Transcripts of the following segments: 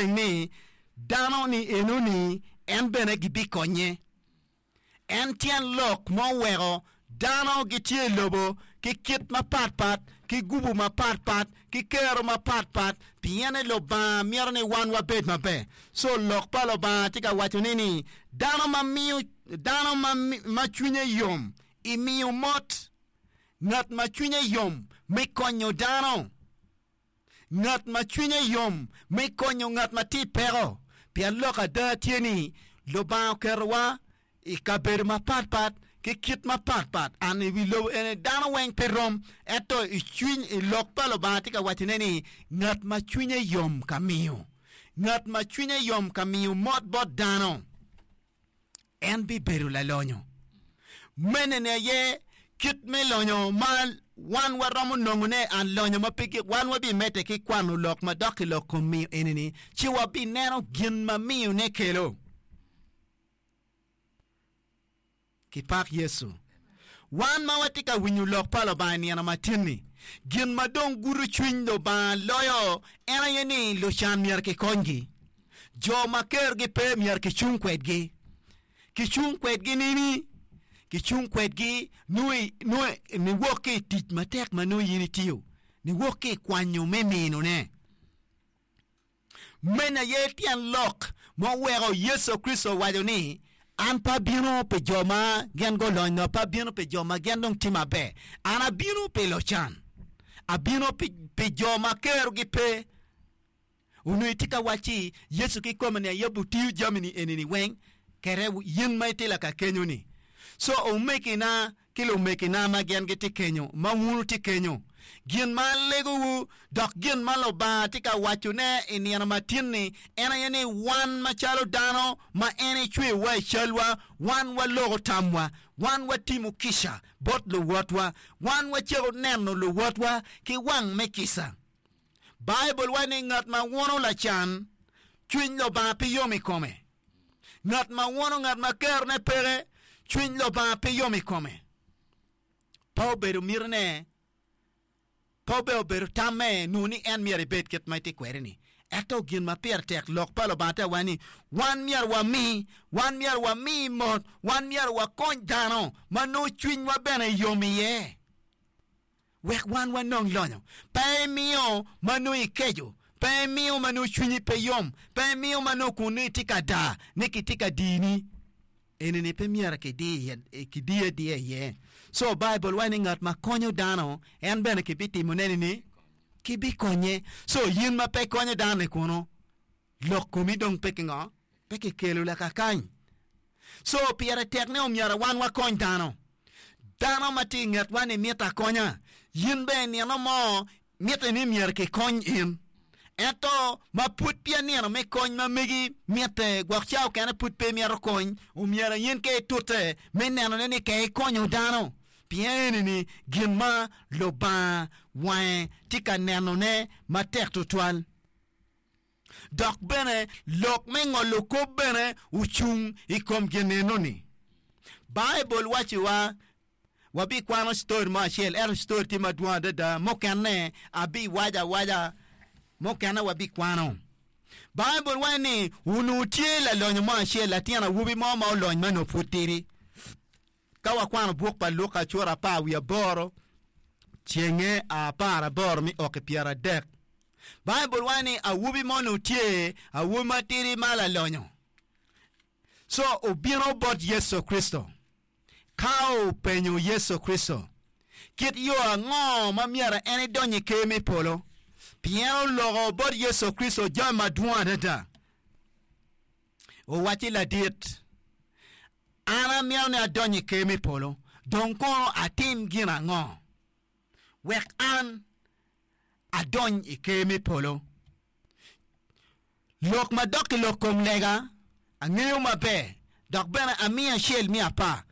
maleng ni dano ni enoni en bene gibikonye. En tyen lok ma oweko dano gitye i lobo ki kit mapatpat, ki gubu mapatpat, ki kero mapatpat, pien ni Lubanga mito ni wan wabed maber. Co lok pa Lubanga tye ka waco ni ni dano ma miyo dano ma ma cwinye yom i miyo mot, ngat ma cwinye yom me konyo dano. Ngat ma cwinye yom me konyo ngat ma tye i peko, pien lok ada tye ni Lubanga oketowa i kabedo mapatpat ki kit mapatpat. An i wi lobo eni dano weng pe rom, ento i cwiny i lok pa Lubanga tye ka wacone ni ngat ma cwinye yom ka miyo, ngat ma cwinye yom ka miyo mot bot dano. en bibedo lalonyo. Mene-ni aye kit me lonyo ma wan waromo nongone, an lonyo ma pe gik. Wan wabimedde ki kwano lok madok i lok kom miyo eni-ni, ci wabineno gin ma miyone kelo. Kipak Yecu. Wan ma watye ka winyo lok pa Lubanga i nino matin-ni, gin ma dong gudo cwiny Lubanga loyo en aye ni lucan myero kikonygi. Jo ma kerogi pe myero kicung kwedgi. Kicung kwedgi nini? Kicung kwedgi nongo niwok ki i tic matek ma nongo in itiyo, niwok ki i kwanyo me minone. Meno aye tyen lok ma oweko Yecu Kricito owaco ni, An pe abino pi jo ma gin gulony nyo pe abino pi jo ma gin dong tye maber. An abino pi lucan, abino pi jo ma kerogi pe. Onongo itye ka wacci Yecu kikome-ni aye obitiyo jami-ni eni-ni weng kede in ma itye lakakenyo-ni. Co omegina ki lumegina ma gin gitye kenyo, ma wun wutye kenyo, gin ma alegowu dok gin ma Lubanga tye ka wacone i nino matin-ni en aye ni wan macalo dano ma en ecweyowa i calwa, wan waloko tamwa, wan watimo kica bot luwotwa, wan wacako neno luwotwa ki wang me kica. Baibul waco ni ngat ma wono lacan, cwiny Lubanga pe yom i kome. Ngat ma wono ngat ma kerone peke, cwiny Lubanga pe yom i kome. Pe obedo mitine, pe obedo obedo tamme nongo ni en myero ebed kit ma etye kwede-ni. Ento gin ma pire tek, lok pa Lubanga tye awaco ni wan myero wami, wan myero wami mot, wan myero wakony dano ma nongo cwinywa bene yom iye. Wek wan wanong lonyo. Pe imiyo ma nongo ikeco, pe imiyo ma nongo cwinyi pe yom, pe imiyo ma nongo kun nongo itye ka da ni kitye ka dini. Enini pe myero kidi adiya iye. Co Baibul waco ni ngat ma konyo dano en bene kibitimone nini? Kibikonye. Co in ma pe ikonyo dano-ni kunu, lok komi dong pe ki ngo? Pe kikelo lakakany. Co pire tek ni omyero wan wakony dano. Dano ma tye i ngetwa ni mito akonya. In bene nino mo mitte ni myero kikony in. Ento ma pud peya nino me kony ma megi mitte, gwok ca okene pud pe imito kony, omyero in ka itute me nenone ni ka ikonyo dano. Pien eni-ni gin ma Lubanga wange tye ka nenone matek tutwal. Dok bene lok me ngolo kop bene ocung i kom gin enoni. Baibul wacciwa, Wabikwano citori mo acel, ento citori tye madwong adada, mukene abiwaco awaca, mukene wabikwano. Baibul waco ni onongo tye lalonyo mo acel, latin awobi mo ma olony ma onongo pud tidi. Ka wakwano buk pa Luka cura 18, cenge 18 me o ki 30, Baibul waco ni awobi mo onongo tye awobi matidi ma lalonyo. Co obino bot Yecu Kricito ka openyo Yecu Kricito kit yo ango ma myero en edony i Ker me polo, pien oloko bot Yecu Kricito jami madwong adada. Owacci, Ladit, an amito ni adony i Ker me polo, dong kono atim gin ango wek an adony i Ker me polo? Lok ma dok i lok kom lega angeyo maber, dok bene amiyo acel me apar.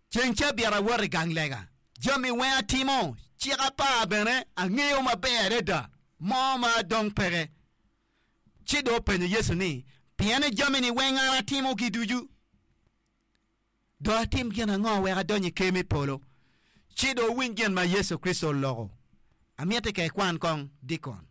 Ceng cabit awoto i gang lega, jami weng atimo, cik apar bene angeyo maber adada, mo ma adong peke. Ci dong openyo Yecu ni, Pien ni jami-ni weng an atimogi ducu, dong atim gin ango wek adony i Ker me polo? Ci dong wuwiny gin ma Yecu Kricito oloko. Amiti ka ikwan kong, Dikon.